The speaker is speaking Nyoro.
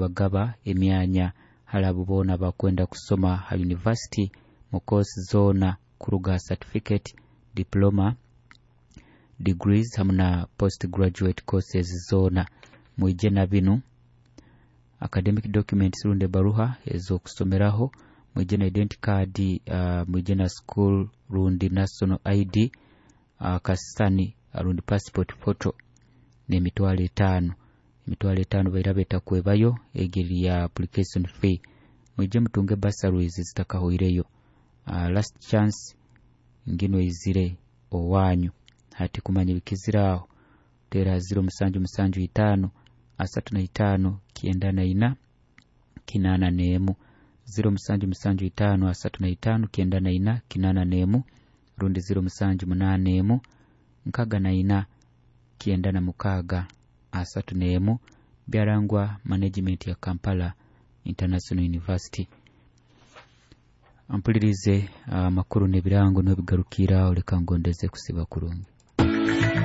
Nibagaba emyanya hali abo boona abakwenda kusoma ha yunivasiti mu koosi zoona kuruga ha certificate, diploma, degrees hamu na post graduate courses zoona. Mwije na binu: academic documents rundi ebaruha ez'okusomeraho, mwije na identity card, mwije na school rundi national ID, akasisani rundi passport photo n'emitwaro 5. 500 bairaba etakwebayo, egi eri ya application fee. Mwije mutunge bursaries zitakahoireyo. Last chance nginu eizire owanyu. Hati kumanya ebikizire aho, teera 0775 35 94 81, 0775 35 94 81 rundi 0781 64 96 31. Byarangwa management ya Kampala International University. Ampulirize, amakuru n'ebirango niho bigarukira aho. Leka ngondeze kusiba kurungi.